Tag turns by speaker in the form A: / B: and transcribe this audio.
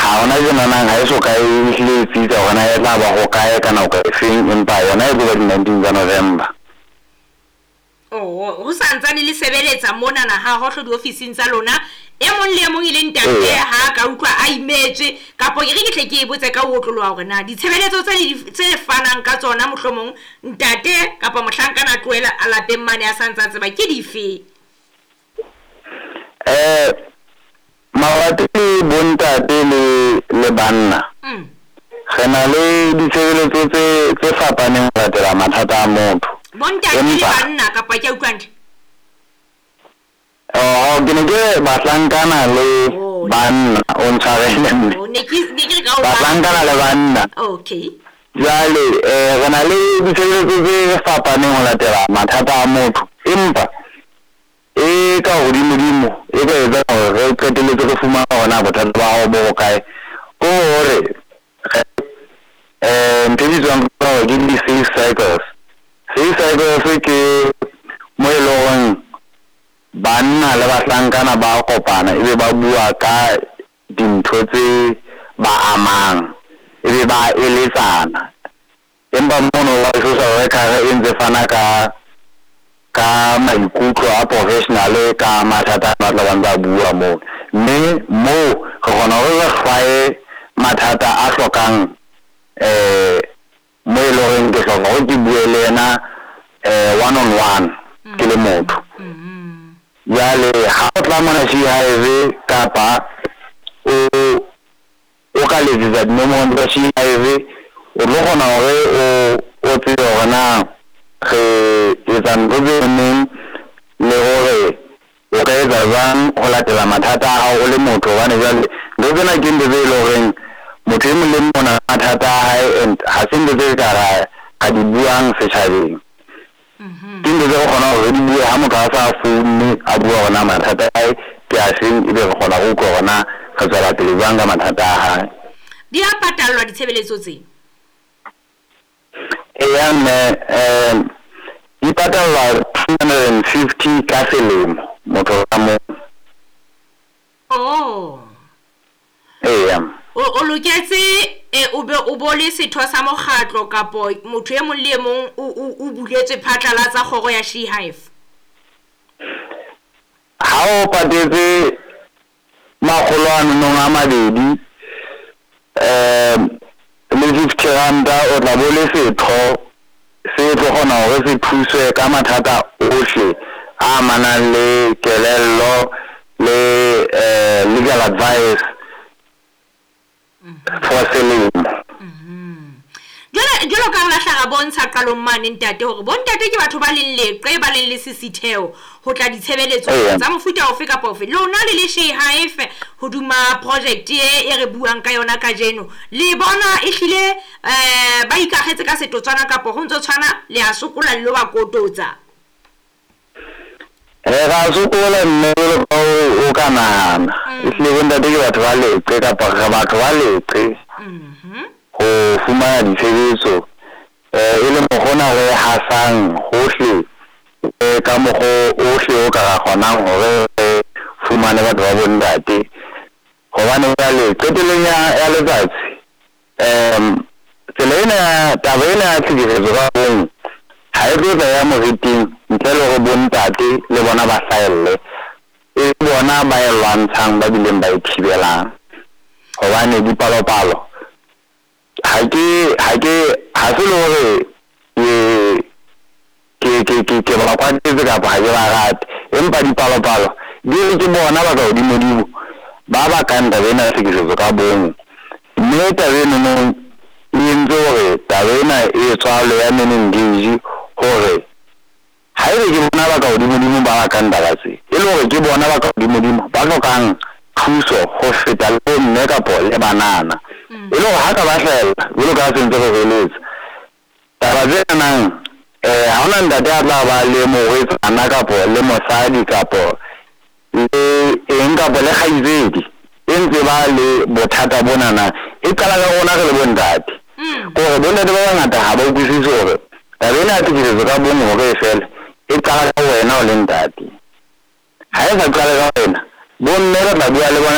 A: Ha hona tjenanang ha e so ka e hlile e tsitsa hore na e tla ba ho kae ka nako e feng, empa yona e tlo ba di-19 tsa November.
B: Oh, ho santsane le sebeletsa monana ha hohlo diofising tsa lona, e mong le e mong e le ntate ha ka utlwa a imetswe, kapo ke re ke tle ke e botse ka ho otloloha hore na ditshebeletso tse fanang ka tsona mohlomong ntate kapa mohlankana a tlohela a lapeng mane a sa ntsa tseba ke dife?
A: Mabapi le bontate le banna, re na le ditshebeletso tse fapaneng ho latela mathata a motho.
B: Bontate le banna kapa ke a utlwa hantle?
A: Oh, ke ne ke bahlankana le banna, o ntshwarele mme. Bahlankana le banna.
B: Okay.
A: Jwale re na le ditshebeletso tse fapaneng ho latela mathata a motho, empa e ka hodimodimo e ka etsang hore re qetelletse re fumana hore na bothata ba hao bo hokae, ke hore ntho e bitswang hore ke di-safe cycles. Safe cycles ke mo e leng horeng banna le bahlankana ba kopana, ebe ba bua ka dintho tse ba amang, ebe ba eletsana. Empa mono wa social worker e ntse fana ka maikutlo a professional ka mathata a tla bang ba bua moo, mme moo re kgona hore re hlwaye mathata a hlokang mo e leng horeng ke hloka hore ke bue le yena one on one ke le motho. Jwale ha o tla mona She Hive kapa o ka letsetsa dinomoro tsa She Hive, o tlo kgona hore o tsebe hore na re etsa ntho tse neng le hore o ka etsa jwang ho latela mathata a hao o le motho. Hobane jwale ntho tsena ke ntho tse leng horeng motho e mong le mong o na le mathata a hae, and ha se ntho tse ka ra di buang setjhabeng. Ke ntho tse re kgonang hore re di bue ha motho a sa founne a bua hore na mathata a hae ke a feng, ebe re kgona ho utlwa hore na re tswela pele jwang ka mathata a hae.
B: Di a patallwa ditshebeletso tse?
A: Eya mme, di patallwa 250 ka selemo motho ka mong.
B: Oh.
A: Eya.
B: O loketse o be o bo le setho sa mokgatlo kapo motho e mong le e mong o buletswe phatlalatsa kgoro ya She Hive?
A: Ha o patetse 920 le 50 ranta, o tla bo le setho se tlo kgona hore se thuswe ka mathata ohle a amanang le kelello le legal advice for selemo.
B: Jwalo ka re lahla ra bontsha qalong mane ntate hore bontate ke batho ba leng leqe, ba leng le sisitheo ho tla ditshebeletso tsa mofuta ofe kapa ofe. Lona le le She Hive hoduma project e re buang ka yona kajeno, le bona ehlile ba ikakgetse ka setotswana kapo ho ntso tshwana le a sokola le lo ba kototsa?
A: Ra sokola mme, jwalo ka o ka nahana. Ehlile bontate ke batho ba leqe, kapa re batho ba leqe ho fumana ditshebetso, e le mokgwa re hasang hohle ka mokgo ohle o ka ra kgonang hore re fumane batho ba bontate. Hobane jwale qetellong ya letsatsi, tsela ena ya taba ena ya tlhekefetso ka bong ha e tlo tla ya moriting ntle le hore bontate le bona ba hlahelle, e bona ba e lwantshang ba bileng ba e thibelang. Hobane dipalopalo ha se le hore ke ba kwatetse kapa ha ke ba rate, empa dipalopalo di re ke bona ba ka hodimodimo ba bakang taba ena ya tlhekefetso ka bong. Mme taba enono e entse hore taba ena e tswalwe ya Men Engage, hore haebe ke bona ba ka hodimodimo ba bakang taba tse, e le hore ke bona ba ka hodimodimo ba hlokang thuso ho feta le bomme kapo le banana. E le hore ha ka ba hlahella jwalo ka ha se ntse re hweletsa taba tse nang, ha hona ntate a tla ba le morwetsana kapo le mosadi kapo le eng kapo le kgaitsedi e ntse ba le bothata bonana, e qala ka rona re le bontate. Ke hore bontate ba bangata ha ba utlwisise hore taba ena ya tlhekefetso ka bong hore e fele e qala ka wena o le ntate. Ha e sa qale ka wena, bomme re tla bua le bona.